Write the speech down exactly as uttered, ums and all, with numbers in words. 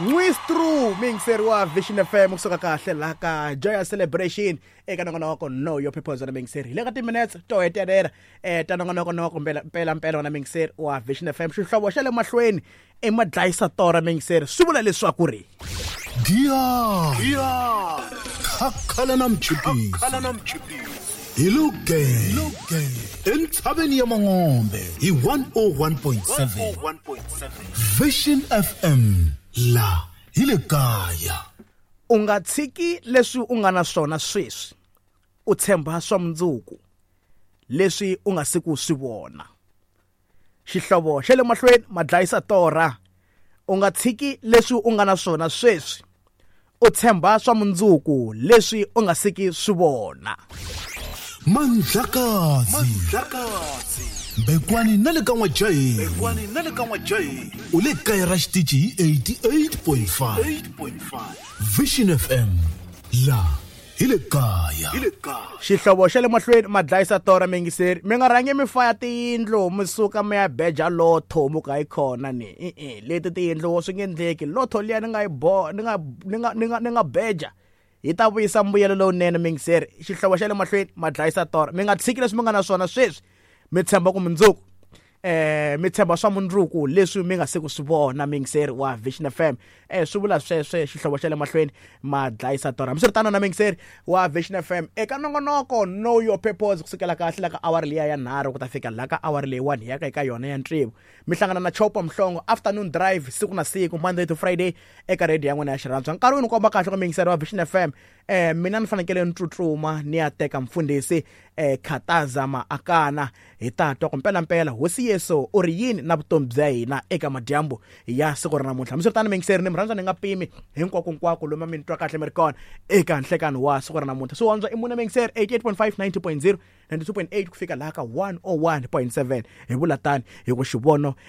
N'wistru muyingiseri wa Vision F M, kusuka kahle laha ka Joyous Celebration eka nongonoko Know Your Purpose. Na muyingiseri, hi le ka timinutes to hetelela eh ta nongonoko noko mpela mpela mpela. Na muyingiseri wa Vision F M, xihlovo xa le mahlweni i madlayisa tora. Muyingiseri, swi vula leswaku ri Diya khakhala na mchipisi hi luge entshaveni ya Mangombe hi one oh one point seven Vision F M, la hi le kaya. U nga tshiki leswi u nga na swona sweswi, u tshemba swa mundzuku leswi u nga siku swi vona. Xihlovo xa le mahlweni, madlayisa torha. U nga tshiki leswi u nga na swona sweswi, u tshemba swa mundzuku leswi u nga siki swi vona. Mandlakazi Mbekwani na le ka N'wajaheni u le kaya ra xitici hi eighty-eight point five Vision F M, la hi le kaya. Xihlovo xa le mahlweni, madlayisa tora. Miyingiseri, mi nga rhangi mi faya tiyindlu, mi suka mi ya beja lotho, mu ka yi khona ni e-e leti tiyindlu swi nge endleki. Lotho liya ni nga yi bo ni nga ni nga ni nga ni nga beja yi ta vuyisa mbuyelo lowunene. Miyingiseri, xihlovo xa le mahlweni, madlayisa tora. Mi nga tshiki leswi mi nga na swona sweswi, mi tshemba ku mundzuku, eh mi tshemba swa mundzuku leswi mi nga se ku swi vona. Miyingiseri wa Vision F M, eh swi vula sweswe xihlovo xa le mahlweni, madlayisa tora. Hambiswiritano, na miyingiseri wa Vision F M, eka nongonoko Know Your Purpose, kusukela kahle la ka awara liya ya nharhu ku ta fika la ka awara leyi one hi yaka eka yona ya ntsevu, mi hlangana na Chopa Mhlongo, Afternoon Drive, siku na siku, Monday to Friday, eka radio ya n'wina ya xirhandzu. Nkarhi wu ni komba kahle ku, miyingiseri wa Vision F M, eh mina ni fanekele ni tsutsuma ni ya teka mfundhisi eh Khataza Maakana, hi ta twa ku mpelampela hosi Yesu u ri yini na vutomi bya hina eka madyambu ya siku ra namuntlha. Hambiswiritano, miyingiseri, ni mi rhandza ni nga pimi hinkwako nkwako lomu mi ni twa kahle mi ri kona eka nhlekani wa siku ra namuntlha. Swi wandzwa i mune, miyingiseri: eighty-eight point five, ninety point zero, ninety-two point eight, ku fika laha ka one oh one point seven. Hi vula tani hi ku xivono.